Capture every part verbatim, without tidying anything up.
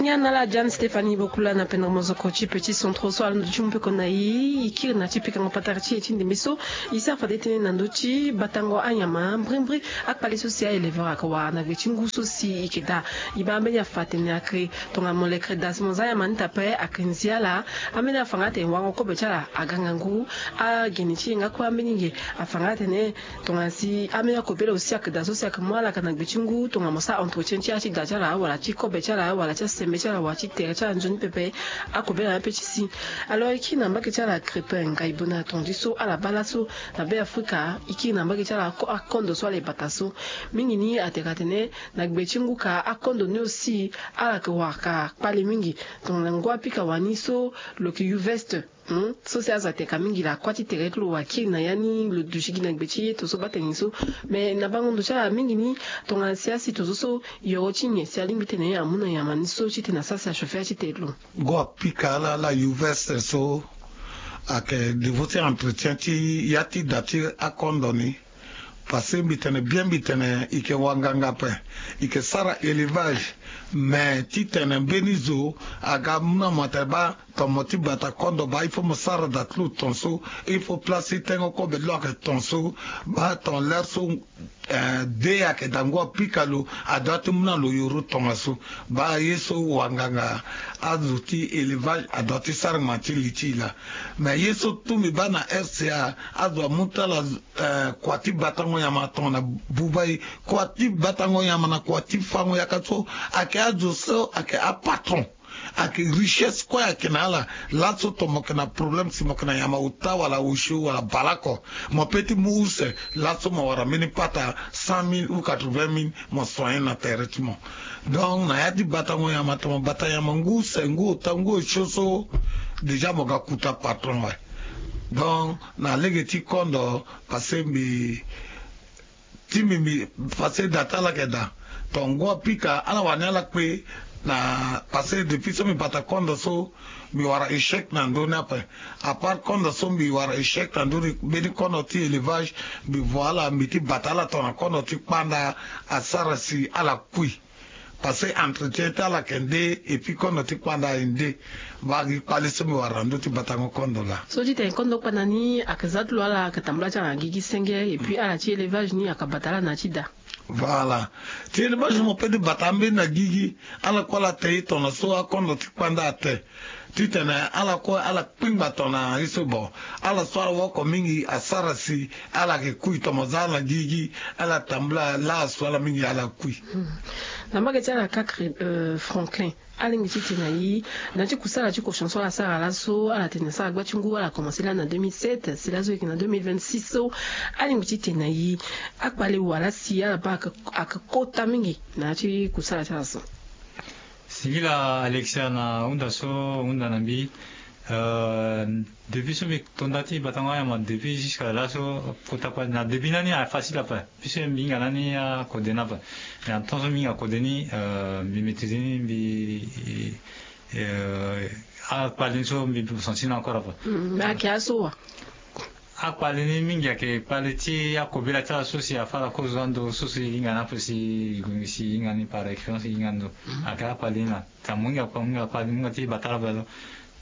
Ya na ala Jeanne Stéphanie Bokula na pendere mozoko ti Petit Centre so alondo ti mu peko na e. E kiri na ti pikango patara ti e ti ndembe so e sara fade tënë na ndö ti batango anyama mbrimbri. Akpale so si a-éleveur ayeke wara na gbe ti ngu so si e yeke daa. E baa ambeni afa atene ayeke tongana molekere daa si mo zia anyama ni daa ape ayeke nzi ala. Ambeni afa nga atene wango kobe ti ala aga ngangu. Agene ti e nga kue ambeni nge afa nga atene tongana si ambeni akobela aussi ayeke daa so si ayeke mu ala ayeke na gbe ti ngu tongana mo sara entretien ti ya ti daa ti ala wala ti kobe ti ala wala ti asembe ti ala wala ti tere ti ala nzoni pepe. Akobela ape ti si. Alors e kiri na mbage ti ala Crépin Ngaïbona, tongana so ala baa laso na Beafrika e kiri na mbage ti ala akondo so ala e bata so. Mingi ni atene atene na gbe ti ngu ka akondo ni aussi ala yeke wara ka kpale mingi. Tongana ngu apika wani so lo yeke yu veste. Hmm, so si azo ateka mingi laa kuâ ti tere ti lo wara kiri na ya ni lo duti gi na gbe ti ye to so baa tene so. Me na bango ndo ti ala mingi ni tongana si asi to so so yoro ti nyen si alingbi tene amu na nyama ni so titene asara si achauffer ya ti tere ti lo. Ngu apika ala ala yu veste so ayeke devo ti entretien ti ya ti da ti akondo ni. Parce que mbi tene bien mbi tene e yeke wanganga ape. E yeke sara élevage. Mais titene mbeni zo aga mu na mo atene baa ton mo ti bata kondo baa il faut mo sara da ti lo ton so. Il faut place ti tengo kobe ti lo ayeke ton so. Baa ton l'heure so eh, de ayeke daa ngu apika lo adoit ti mu na lo yoro tongaso. Baa ye so wanganga azo ti élevage adoit ti sara ngma ti li ti e laa. Mais ye so tout mbi baa na R C A azo amu ti ala eh, kua ti batango nyama tongana buba e. Kua ti batango nyama na kua ti fango yaka so ayeke azo so ayeke apatron. Ayeke richesse kue ayeke na ala. Laso ton mo yeke na problème si mo yeke na nyama ota wala osio wala baleoko, mo peut ti mu use. Laso mo wara mbeni pata cent mille ou quatre-vingt mille mo soigner na tere ti mo. Donc na ya ti batango nyama ton mo bata nyama ngu use ngu ota ngu osio so déjà mo ga kuta patron awe. Donc na lege ti kondo parce que mbi ti mbi mbi parce que da ti ala yeke daa. Ton ngu apika ala wani ala kpe. Na parce que depuis so mbi bata kondo so mbi wara échec na ndö ni ape. À part kondo so mbi wara échec na ndö ni mbeni kondo ti élevage mbi vo ala mbi ti bata ala tongana kondo ti kpanda asara si ala kui. Parce que entretien ti ala yeke nde et puis kondo ti kpanda aye nde. Mbage kpale so mbi wara na ndö ti batango kondo laa. So ti tene kondo kpanda ni ayeke za ti lo ala ayeke tambula ti ala na gigi senge et puis ala ti élevage ni ayeke bata ala na ya ti da. Voilà. Ti élevage mo peut ti bata ambeni na gigi. Ala kue ala te ye tongana so akondo ti kpanda ate. Titene ala kue ala kpingba tongana ye so bon. Ala so ala woko mingi asara si ala yeke kui tomo za ala na gigi. Ala tambula laa asu ala mingi ala kui. Na mbage ti ala kake Franklin, alingbi ti tene na e na ti kusala ti kotion so ala sara laso ala tene asara gba ti ngu ala komanse laa na deux mille sept si laso e yeke na deux mille vingt-six so. Alingbi ti tene na e akpale wala si ala baa ayeke kota mingi na ya ti kusala ti ala so. Singila Alexia na hunda so hunda na mbi. Depuis so mbi tonda ti batango anyama depuis jusque laso kota kue na début na ni ayeke facile ape. Puisque mbi hinga na ni akode ni ape. Mais na temps so mbi hinga kode ni mbi maîtrise ni mbi akpale ni so mbi senti ni encore ape. Ayeke aso wa? Akpale ni mingi ayeke kpale ti akobela ti ala so si afa ala kozo ando so si hinga ni ape si si hinga ni par expérience hinga ando. Ayeke akpale ni laa. Ka mo hinga kpa mo hinga kpa mo hinga ti bata ala bela so.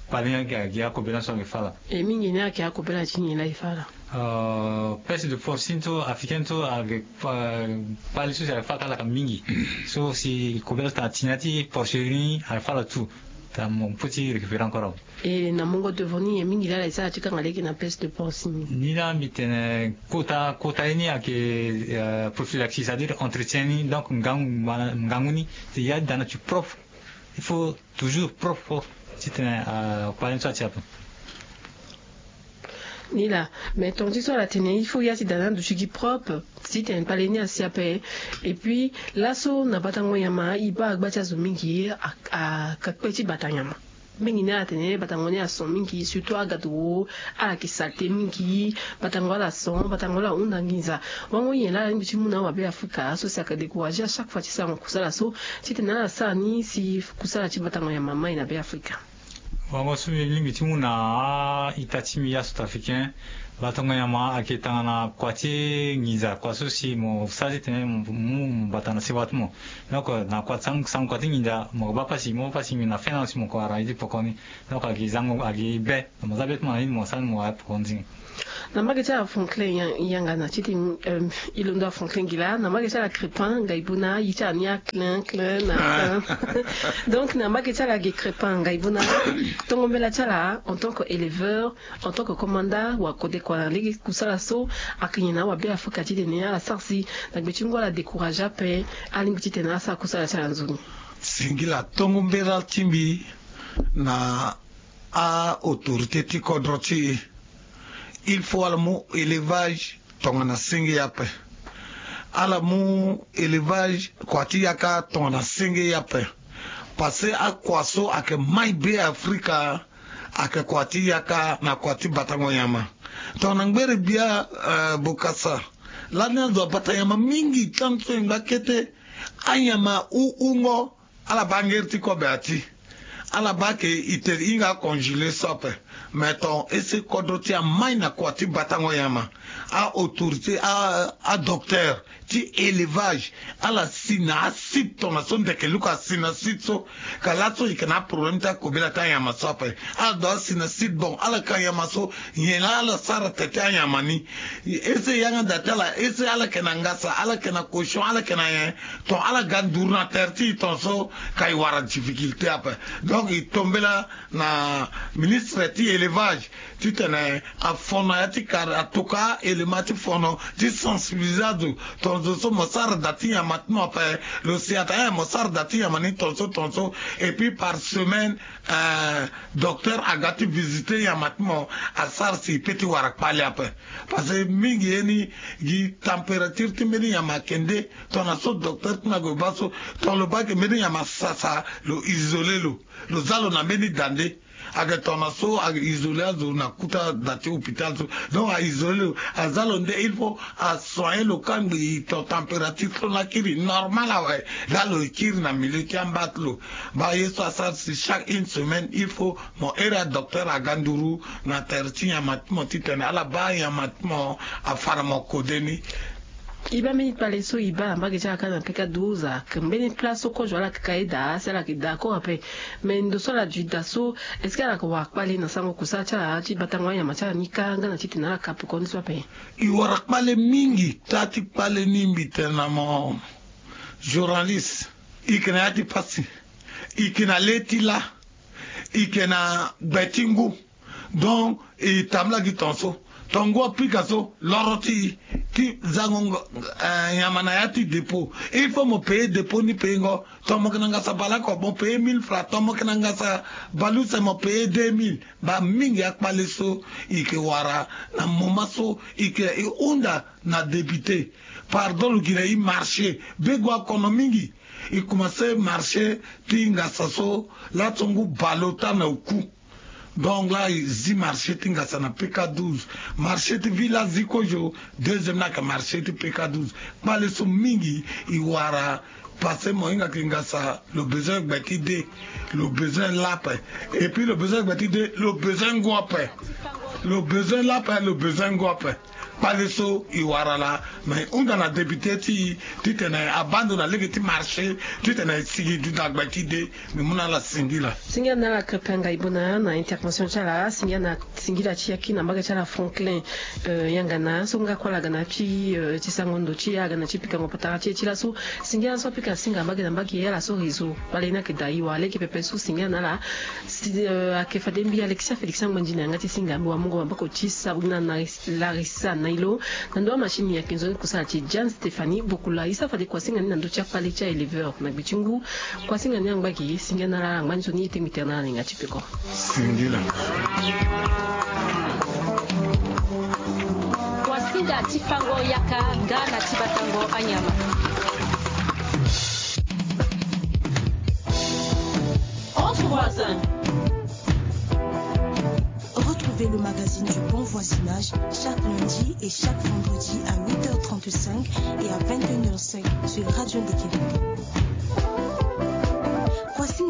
Kpale ni ayeke gi akobela so ayeke fa ala. E mingi ni ayeke akobela ti nyen laa e fa ala? Peste de porcine so africaine so ayeke kpale so si ayeke fa ala ka mingi. So si kobela so tena ti na ti porcherie ni ayeke fa ala tout. Tena mo peut ti récupérer encore awe. E na mungo devant ni nyen mingi laa ala e sara ti kanga lege na peste de porcine ni? Ni laa mbi tene kota kota ye ni ayeke prophylaxie c'est à dire entretien ni donc ngangu ngangu ni. Te ya ti da na ti propre. Il faut toujours propre propre. Titene akpale ni so ati ape. Ni laa. Mais tonga ti so ala tene il faut ya ti da na ando ti gi propre. Titene kpale ni asi ape. Et puis laso na batango nyama e baa gba ti azo mingi aka kpe ti bata nyama. Mingi ni ala tene batango ni ason mingi surtout agado. Ala yeke salte mingi. Batango ala son batango ala hunda nginza. Wango nyen laa ala lingbi ti mu na awabe afrika so si ayeke décourager à chaque fois ti sarango kusala so titene ala sara ni si kusala ti batango nyama mai na be afrika. Wango so mbi lingbi ti mu na a-ita ti mbi ya centrafricain. Batango nyama ayeke tongana kua ti nginza, kua so si mo sara titene mo mu mo bata na sewa ti mo. Donc na kua ti sango, sango kua ti nginza mo baa pasi, mo baa pasi mingi na fin na si mo ko wara ye ti poko ni. Donc ayeke zango, ayeke be. Mo za be ti mo na ye ni mo sara ni mo wara poko ni. Na mbage ti ala Franklin ya-, yanga na ti ti, euh, e londo a Franklin gi laa, na mbage ti ala Crépin Ngaibona, ye ti ala ni a Klein Klein na Klein. Donc na mbage ti ala ge Crépin Ngaibona, tongo mbela ti ala en tant que éleveur, en tant que commandant wa kode kua na lege kusala so, ayeke nyen na awabe Afrika titene ala sara si na gbe ti ngu ala décourage ape, alingbi titene ala sara kusala ti ala nzoni. Singila, tongo mbela ti mbi na a-autorité ti kodro ti e, il faut ala mu élevage tongana senge ape. Ala mu élevage kua ti yaka tongana senge ape. Parce que akua so ayeke mai be Afrika, ayeke kua ti yaka na kua ti batango nyama. Tongana ngbere gbia, euh, Bokassa, lani azo abata nyama mingi, tanso e ngba kete, anyama hu hungo, ala baa ngeri ti kobe ati. Ala baa ke e te hinga acongelé so ape. Mais ton ese kodro ti amai na kua ti batango nyama, a-autorité, a, adocteur ti élevage, ala si na asite tongana so ndeke luku asi na site so. Ka laso e yeke na aproblème ti akobela ti anyama so ape. Ala do asi na site, bon, ala ka nyama so, nyen laa ala sara tere ti anyama ni. Ese yanga da ti ala, ese ala yeke na ngasa, ala yeke na cochon, ala yeke na nyen, ton ala ga nduru na tere ti e, ton so ka e wara difficulté ape. Donc e to mbela na ministre ti élevage titene afono ya ti kar, atoka élément ti fono ti sensibiliser azo, ton zo so mo sara da ti nyama ti mo ape, lo si atene mo sara da ti nyama ni ton so ton so. Et puis par semaine, euh, docteur aga ti visiter nyama ti mo, asara si e pe ti wara kpale ape. Parce que mingi ye ni gi température ti mbeni nyama ayeke nde, tongana so docteur ti na gue baa so, ton lo baa ke mbeni nyama sasa, lo isoler lo, lo za lo na mbeni da nde. Ayeke tongana so ayeke isoler azo na kuta da ti hôpital so. Donc a isoler lo, aza lo nde, il faut asoigner lo kangbi, ton température so la kiri normal awe, la lo kiri na milieu ti amba ti lo. Baa ye so asara si chaque une semaine il faut mo here adocteur aga nduru na tere ti nyama ti mo titene ala baa nyama ti mo afa na mo kode ni. E baa mbeni kpale so e baa na mbage ti ala kâ na peka douze, ayeke mbeni place so kozo ala yeke ka ye daa si ala yeke d'accord ape. Mais ndo so ala duti daa so, est-ce que ala yeke wara kpale na sango kusala ti ala ti batango anyama ti ala ni kâ nga na titene ala ka pekoni so ape? E wara kpale mingi. Taa ti kpale ni mbi tene na mo, journaliste, e yeke na ya ti pasi, e yeke na le ti lâ, e yeke na gbe ti ngu. Donc e tambula gi tongaso, tonga ngu apika so, loro ti e ti zango, eh, nyama na ya ti dépôt. Il faut mo payer dépôt ni, payengo. Ton mo yeke na ngasa baleoko, mo payer mille francs. Ton mo yeke na ngasa baleuse, mo payer deux mille. Baa mingi akpale so e yeke wara na moment so e yeke, e hunda na député. Pardon, lo gi na e marché, bego akono mingi. E commencer marché ti ngasa so, laso ngu baleota na oku. Donc la e zi marché ti ngasa na peka douze. Marché ti village zi kozo, deuxième ni ayeke marché ti peka douze. Kpale so mingi e wara. Parce que mo hinga ke ngasa lo besoin gbe ti de, lo besoin lâ ape. Et puis lo besoin gbe ti de, lo besoin ngu ape. Lo besoin lâ ape, lo besoin ngu ape. Kpale so e wara laa, me e hunda na député ti e titene abaa ndo na lege ti marché, titene e sigi duti na gbe ti de. Mbi mu na ala singila. Singila na ala Krépin Ngaibona na intervention ti ala. Singila na singila ti yaki na mbage ti ala Franklin, euh, yanga na so nga kue ala ga na ti, euh, ti sango ndo ti e, aga na ti pikango patara ti e ti laso. Singila so apika singa mbage na mbage, ala so réseau kpale ni ayeke daa e wara lege pepe so. Singila na ala. Si, euh, ayeke fade mbi Alexia Félix Angbandi na yanga ti singa, mbi wamungo maboko ti Sabrina na Larissa Nailo. Na ndo amachine ayeke nzoni kusala ti Jeanne Stéphanie Bokula. E sara fade kua singa ni na ndö ti akpale ti a-éleveur na gbe ti ngu. Kua singa ni angba gi, singila na ala angba ni so ni e tengbi tere na ala na yanga ti peko. Singila. Kua singa ti fango yaka nga na ti batango anyama. Entre voisins. Retrouvez le magazine du bon voisinage chaque lundi et chaque vendredi à huit heures trente-cinq et à vingt et une heures cinq sur Radio Ndekele.